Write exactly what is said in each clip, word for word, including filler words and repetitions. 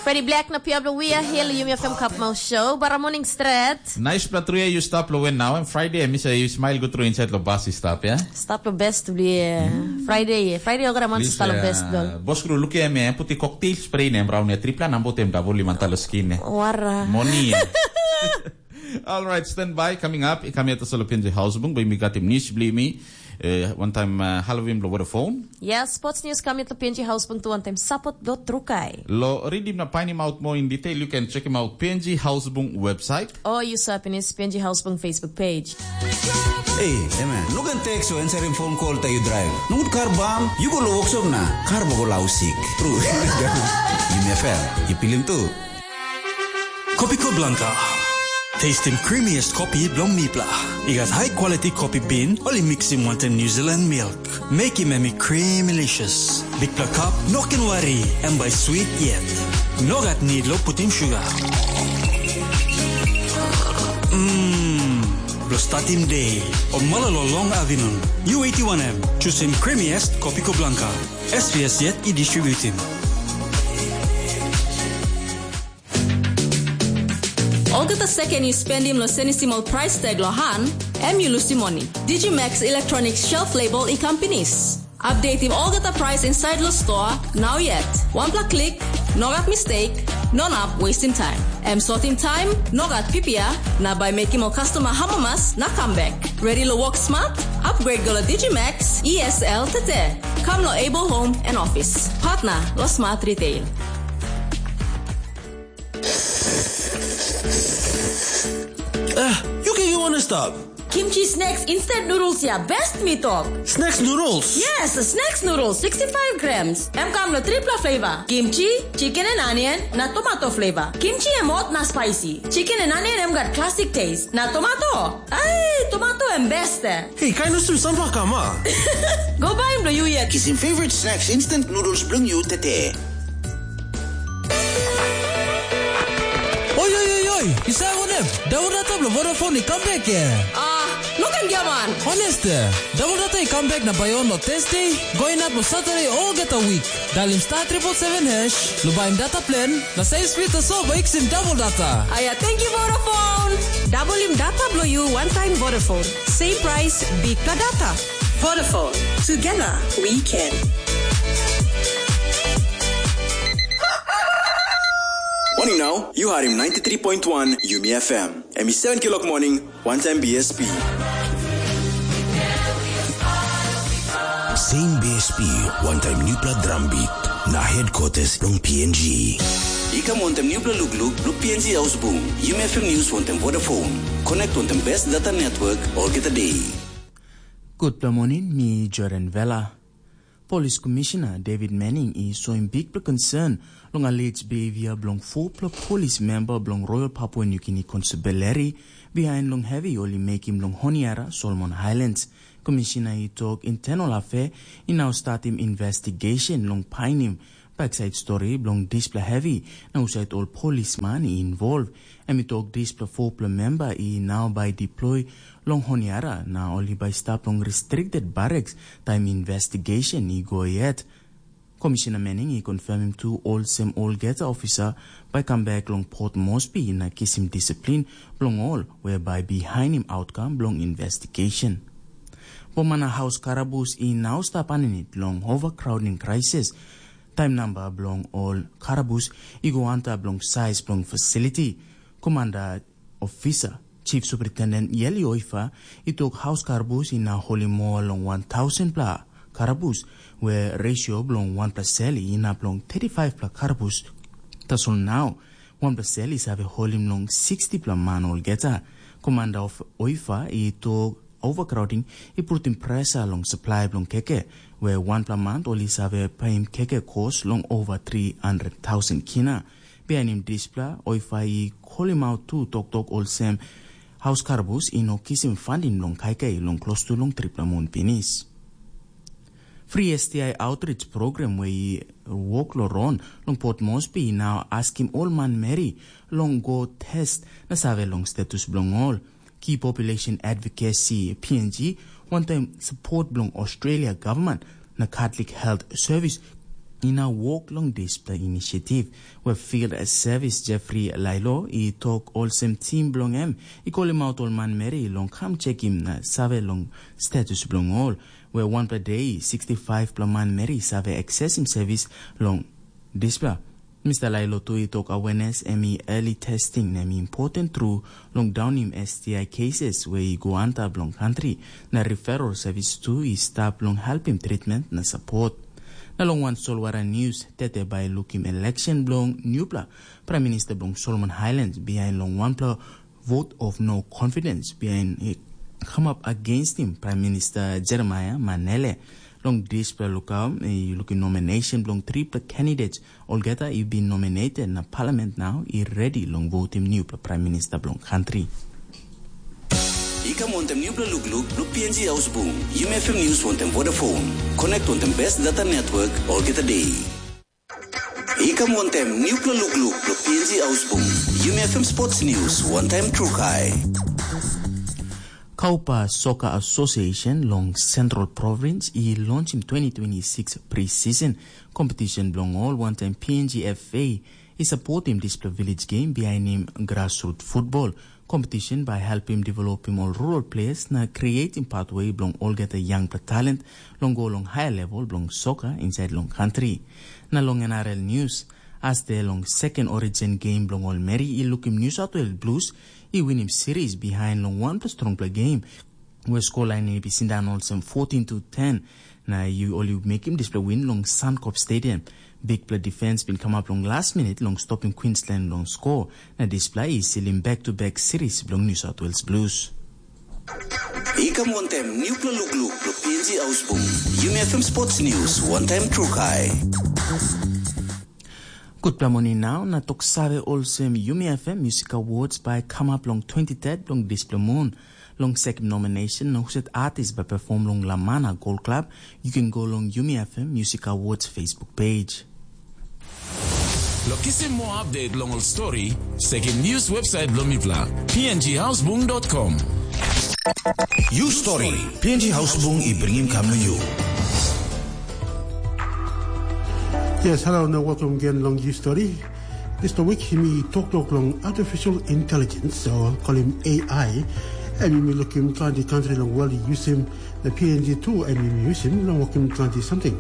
Freddy Black na Pia Blue Wia, Hill Yumi F M Cup Mouth Show, bara morning stret. Nice pla tru ya, you stap lo wen now, and Friday, mi sa you smile go through inside lo bus stap, ya? Stap lo best bli. Friday, Friday ogra man stap lo best dol. Bos kru luki em, eh, puti cocktail spray nem brown ya, tripla nambo tem double lima talo skin, eh. Wara. Moni, eh. All right, stand by. Coming up, i kam yet solo P N G Housebung, by mi got him news bli mi. Eh, one time, uh, Halloween blo Vodafone. Yes, sports news kam yet lo P N G Housebung tu one time support dot trukai. Lo read him na find him out more in detail, you can check him out P N G Housebung website. Or you sa pinis P N G Housebung Facebook page. Ei, emen, no ken tek so answering phone call ta yu drive. Nogut kar bam, yu go lo workshop na kar bo go lau sik. Tru. Yumi F M, yu pilim tu. Kopiko Blanca. Tastim creamiest kopi bilong mipela. I gat high quality kopi bean, ol i mixim wantaim New Zealand milk. Mekim em i creamylicious. Bikpela cup, no ken wari, em bai sweet yet. No gat need lo putim sugar. Mm, lo statim day, o malolo long afternoon. U eighty-one M, choosing creamiest Kopiko Blanca. S V S yet i distributim. Olgeta seken yu spendim lo senisim ol price tag lo han, em yu lusim moni. Digimax Electronics shelf label i kam pinis. Updateim olgeta price inside lo store, now yet. Wanpela klik, no gat mistake, no nap wasting time. Em sotim time, no gat pipia, na bai mekim ol customer hamamas na comeback. Ready lo work smart? Upgrade go lo Digimax E S L tete. Come lo Able Home and Office. Partner lo Smart Retail. Ah, you can you want to stop? Kimchi snacks instant noodles ya best mi tok. Snacks noodles? Yes, snacks noodles sixty-five grams. Em kam lo tripla flavor. Kimchi, chicken and onion, na tomato flavor. Kimchi em hot na spicy. Chicken and onion em gat classic taste. Na tomato. Ai, tomato em best. Hey, kain usum sampla kama. Go bai em lo yu yet. Kisim favorite snacks instant noodles bilong yu tete. Oi, oi, oi, oi, i save wanem? Daun data bilong Vodafone i kam bek, eh? Ah, no ken giaman. Honest, eh? Daun data i kam bek na bai on lo Thursday, go inap lo Saturday olgeta wik. Dalim star triple seven hash, lo baim data plan, na save speed tasol bai kisim daun data. Aia, thank you Vodafone. Dabulim data bilong yu wantaim Vodafone. Same price, bikpela data. Vodafone, together we can. Morning now, you are in ninety-three point one Yumi F M. Em i seven kilok morning, one time B S P. Same B S P, one time newpla drum beat, na headquarters long P N G. I kam wantaim newpela lukluk bilong P N G Ausbung, Yumi F M News wantaim Vodafone. Connect wantaim best data network olgeta day. Gutpela morning, mi Jordan Vela. Polis Komishina David Manning i soim bikpela concern long alleged behavior bilong fopela polis member bilong Royal Papua New Guinea Constabulary bihain long hevi ol i mekim long Honiara, Solomon Highlands. Komishina i tok internal affair i nau statim investigation long painim baksait stori bilong dispela hevi na husait ol polisman i involve. Em i tok dispela fopela memba i nau bai deploy long Honiara na ol i bai stap long restricted barracks taim investigation i go yet. Komishina Manning i confirmim tu olsem olgeta ofisa bai kam bek long Port Moresby na kisim disiplin bilong ol we bai bihainim outcome bilong investigation. Boma na haus karabus i nau stap aninit long overcrowding crisis. Taim namba bilong ol karabus i go antap long saiz bilong fasiliti. Komanda ofisa, Chief Superintendent Yeli Oifa, i tok haus karabus i na holim moa long wan tausen pla karabus, we resio bilong wanpela sel i inap long thirty-five pla karabus. Tasol nau, wanpela sel i save holim long sixty pla man olgeta. Komanda of Oifa i tok overcrowding i putim presa long supply bilong keke, we wanpela man ol i save paim keke kos long over three hundred thousand kina. Bihainim dispela, Oifa i kolim aut tu toktok olsem, haus karabus i no kisim funding long kaikai long klostu long tripla mun pinis. Free S T I outreach program we i wok lo ron long Port Moresby i nau askim ol manmeri long go test na save long status bilong ol. Key Population Advocacy, P N G, wantaim support bilong Australia government na Catholic Health Service i na wok long dispela inisiativ, we Field Service Jeffrey Lailo i tok olsem tim bilong em i kolim aut ol manmeri long kam chekim na save long status bilong ol, we wanpela de sixty-five pela manmeri i save aksesim sevis long dispela. Mister Lailo tu i tok awenes em i early testing na em i important tru long daunim S T I cases we i go antap long kantri, na referral service tu i stap long helpim treatment na support. Na long wan solwara news, tete bai lukim election bilong newpela Prime Minister bilong Solomon Highlands behind long wanpela vote of no confidence behind i come up against him, Prime Minister Jeremiah Manele. Long dispela lukau, i lukim nomination bilong tripela candidates, olgeta i bin nominated na parliament now i ready long votim newpela Prime Minister bilong country. I kam wantem newpela lukluk bilong P N G Hausbung, Yumi F M News wantem Vodafone. Connect wantem best data network olgeta day. I kam wantem newpela lukluk bilong P N G Hausbung, Yumi F M Sports News wantem Trukai. Kaupa Soccer Association long Central Province i launchim twenty twenty-six pre-season competition bilong ol, wantaim P N G F A i supportim dispela village game bihainim grassroots football. Competition bai helpim developim ol rural players na creating pathway bilong olgeta young talent long go long higher level bilong soccer inside long country. Na long N R L news, as de long second origin game bilong ol meri i lukim New South Wales Blues i winim series behind long wanpela strongpela game, we scoreline i bin sindaun olsem fourteen to ten, na yu ol i mekim dispela win long Suncorp Stadium. Bikpela defense bin kamap long last minute long stopim Queensland long score, na dispela i silim back to back series bilong New South Wales Blues. I kam wantem newpela lukluk bilong P N G Ausbung. Yumi F M Sports News, wantaim Trukai. Gutpela moni nau na tok save olsem Yumi F M Music Awards bai kamap long twenty-third bilong dispela mun. Long sekim nomination na husat artist bai perform long Lamana Gold Club, you can go long Yumi F M Music Awards Facebook page. Long kisim moa update long ol stori, sekim news website bilong mipela, P N G Hausbung dot com. You Story, P N G Hausbung i bringim kam long you. Yes, hello and welcome again long You Story. Dispela wik yumi toktok long artificial intelligence, o kolim A I, em yumi lukim planti kantri long world i yusim, na P N G tu em yumi yusim long wokim planti samting.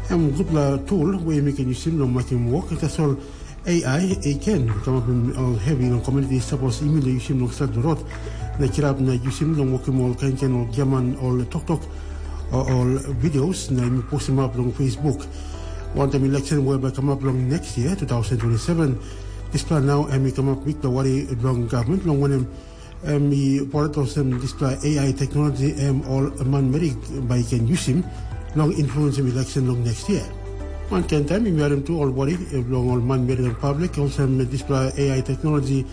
Em gutpela tool we yumi ken yusim long mekim wok, tasol A I i ken kamapim ol hevi long komuniti sapos yumi no yusim long stret rot na kirap na yusim long wokim ol kain kain ol giaman ol toktok, o ol videos na yumi postimap long Facebook. Wantaim election we bai kamap long next year, two thousand twenty-seven, dispela nau em i kamap bikpela wari bilong gavman, long wanem, em i poret olsem dispela A I teknologi em ol manmeri bai i ken yusim long influensim election long next year. Wankain taim yumi harim tu ol wari bilong ol manmeri long public, olsem dispela A I teknologi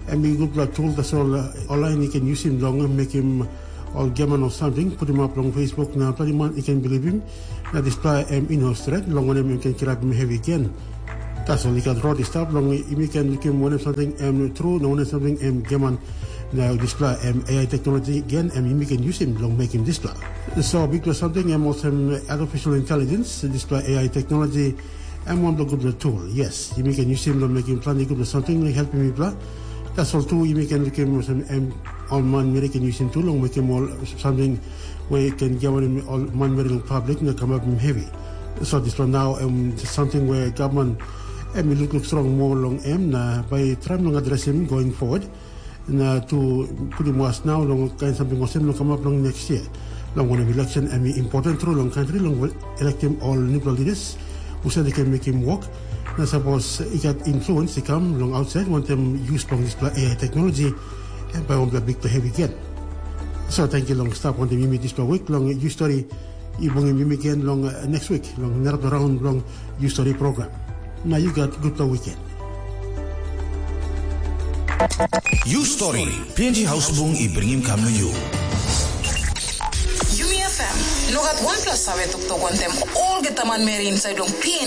em i gutpela tool, tasol ol lain i ken yusim long mekim ol giaman ol samting, putimap long Facebook na planti man i ken bilipim, na dispela em i no stret, long wanem em ken kirapim hevi gen. Tasol i gat rot i stap long yumi ken lukim wanem samting em tru na wanem samting em giaman, na dispela em A I teknologi gen em yumi ken yusim long mekim dispela. So bikpela samting em olsem artificial intelligence, dispela A I teknologi, em wanpela gutpela tool, yes, yumi ken yusim long mekim planti gutpela samting long helpim mipela. Tasol tu yumi ken lukim olsem em ol manmeri ken yusim tu long mekim ol samting we ken giamanim ol manmeri long public na kamapim hevi. So dispela nau em samting we gavman em i lukluk strong moa long em na bai traim long adresim going forward. Na tu putim was nau long kain samting olsem long kamap long next year. Long wanem, election em i important tru long kantri long elektim ol nupela leaders husat i ken mekim wok, na sapos i gat influence i kam long ausait wantaim yus bilong dispela A I teknologi, em bai wanpela bikpela hevi gen. So tenkyu long stap wantaim yumi dispela wik long You Story. I bungim yumi gen long uh, next week long narapela raun bilong You Story program. Na yu gat gutpela weekend. You Story, P N G Hausbung i bringim kam long you. Yumi F M, no gat wanpela save toktok wantaim olgeta manmeri inside long P N G.